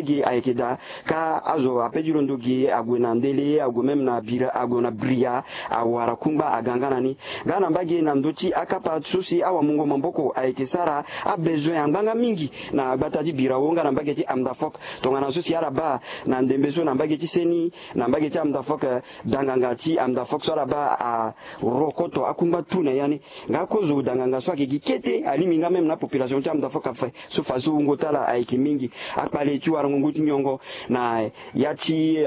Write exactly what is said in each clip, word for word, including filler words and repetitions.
Gi ayeke daa, ka azo ape ti londo gi ague na ndele, ague même na bira, ague na bria, awara kungba aga nga na ni. Nga na mbage na ndö ti akapa so si awamungo maboko ayeke sara abezoin angbanga mingi na gbata ti birao nga na mbage ti amdafok. Tongana so si ala baa na ndembe so na mbage ti seni, na mbage ti amdafok, danganga ti amdafok so ala baa arokoto akungba tu na ya ni. Nga kozo danganga so ayeke gi kete alingbi nga même na population ti amdafok afe. So faso wungo ti ala ayeke mingi. Akpale ti warango ngu ti nyongo na ya ti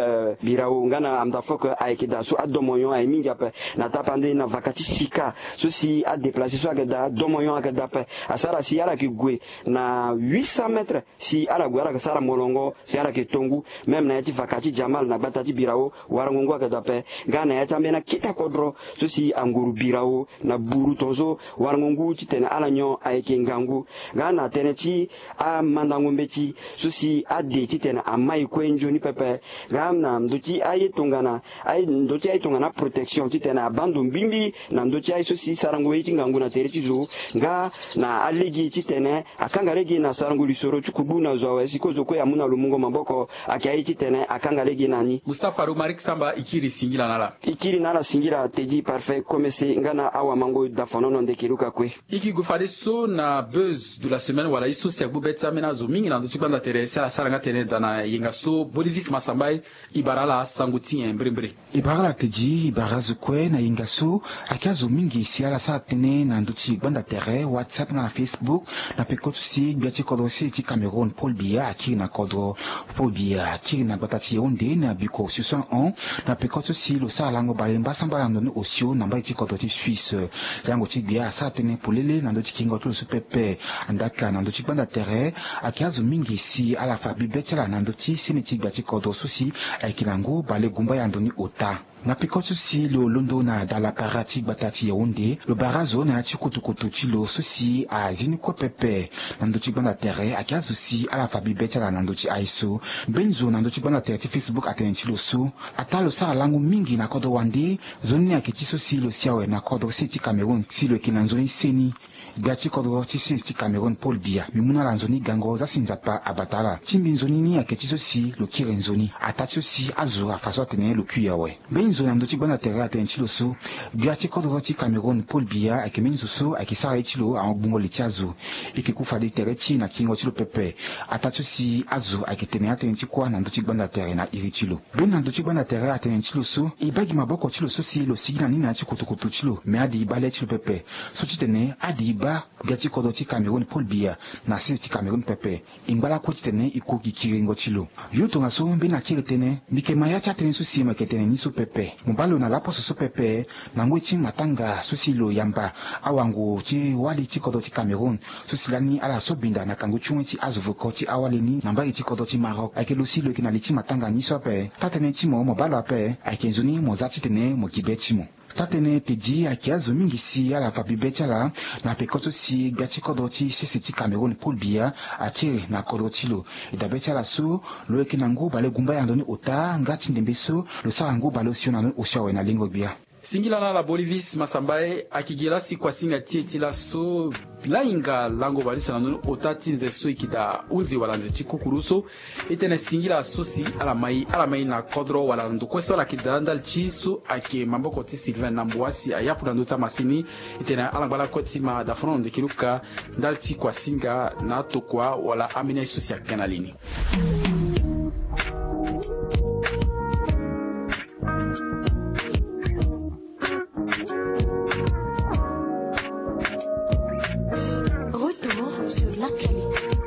birao nga na amdafok ayeke daa so adomonyon aye mingi ape. Na tapande na vaka ti sika so si adeplace so ayeke daa domonyon ayeke daa ape. Asara si ala yeke gue na huit cents mètres si ala gue ala yeke sara molongo si ala yeke tongu. Même na ya ti vaka ti jamal na gbata ti birao warango ngu ayeke daa ape. Nga na ya ti ambeni akita kodro so si anguru birao na buru tongaso warango ngu titene ala nyon ayeke ngangu. Nga na tënë ti amandango mbeti so si ade titene amai kue nzoni pepe. Nga na ndö ti aye tongana aye ndö ti aye tongana aprotection titene abaa ndo mbimbi na ndö ti aye so si sarango ye ti ngangu na tere ti zo. Nga na alege titene akanga lege na sarango lisoro ti kubu na zo awe si kozo kue amu na lo mungo maboko. Ayeke aye titene akanga lege na ni. Mustapha Romaric Samba, e kiri singila na ala. E kiri na ala singila Teddy Parfait Komese nga na awamango Dafonono Ndekeluka kue. E ke gue fadeso na buzz de la semaine wala ye so si agbu be ti ambeni azo mingi na ndö ti gbanda tere si ala sara nga tënë daa na yenga so Boniface Masambaye. E bara ala sango ti nyen mbirimbiri? E bara ala Teddy, e bara azo kue na yenga so. Ayeke azo mingi si ala sara tënë na ndö ti gbanda tere WhatsApp nga na Facebook. Na peko so si gbia ti kodro sese ti Cameroun Paul Biya akiri na kodro. Paul Biya akiri na gbata ti Yaoundé na biko soixante-onze na peko so si lo sara lango bale mbasambala na ndo ni osio na mbage ti kodro ti Suisse. Lango ti gbia asara tënë polele na ndö ti kiringo ti lo so pepe. Andaka na ndö ti gbanda tere, ayeke azo mingi si ala fa bibe ti ala na ndö ti seni ti gbia ti kodro so si ayeke na ngu bale gumba ya ndo ni ota. Na peko so si lo londo na dalapara ti gbata ti Yaoundé, lo bara azo na ya ti kotokoto ti lo so si azi ni kue pepe. Na ndö ti gbanda tere ayeke azo si ala fa bibe ti ala na ndö ti aye so. Mbeni zo na ndö ti gbanda tere ti Facebook atene ti lo so, ataa lo sara lango mingi na kodro wande. Nzoni ni ayeke ti so si lo si awe na kodro sese ti Cameroun si lo yeke na nzoni seni. Gbia ti kodro ti sese ti Cameroun Paul Biya, mbi mu na ala nzoni gango za si Nzapa abata ala. Ti mbi nzoni ni ayeke ti so si lo kiri nzoni. Ataa ti so si azo afa so atene lo kui awe. Mbeni zo na ndö ti gbanda tere atene ti lo so, gbia ti kodro ti Cameroun Paul Biya ayeke mbeni zo so ayeke sara ye ti lo ahon gbungo li ti azo. E yeke ku fade tere ti e na kiringo ti lo pepe. Ataa ti so si azo ayeke tene atënë ti kuâ na ndö ti gbanda tere na iri ti lo. Mbeni na ndö ti gbanda tere atene ti lo so, e baa gi maboko ti lo so si lo sigi na ni na ya ti kotokoto ti lo, me ade e baa le ti lo pepe. So titene ade e baa gbia ti kodro ti Cameroun Paul Biya na sese ti Cameroun pepe. E ngba lakue titene e ku gi kiringo ti lo. Yo tongaso mbeni akiri tënë, mbi yeke ma ya ti atënë so si mo yeke tene ni so pepe. Mo baa lo na laposo so pepe, na ngoi ti matanga so si lo yamba awango ti wali ti kodro ti Cameroun. So si lani ala so binda na kangu ti wen ti azo voko ti awali ni na mbage ti kodro ti Maroc. Ayeke lo si lo yeke na li ti matanga ni so ape. Taa-tënë ti mo, mo baa lo ape, ayeke nzoni mo za titene mo gi be ti mo. Taa-tënë Teddy, ayeke azo mingi si ala fa bibe ti ala na peko so si gbia ti kodro ti sese ti Cameroun Paul Biya akiri na kodro ti lo. E dabe ti ala so, lo yeke na ngu bale gumba ya ndo ni ota nga ti ndembe so lo sara ngu bale osio na ndo ni osio awe na lengo gbia. Singila na ala Boniface Masambaye. Ayeke gi la si kuasinga ti e ti laso. Lahinga lango baleso na ndo ni ota ti nze so e yeke daa hunzi wala nze ti kukuru so. E tene singila so si ala mai ala mai na kodro wala na ndo kue so ala yeke daa ndali ti so ayeke maboko ti Sylvain Nambua si ayapu na ndö ti amasini. E tene ala ngba lakue ti ma Dafonono Ndekeluka ndali ti kuasinga na atokua wala ambeni aye so si ayeke na li ni.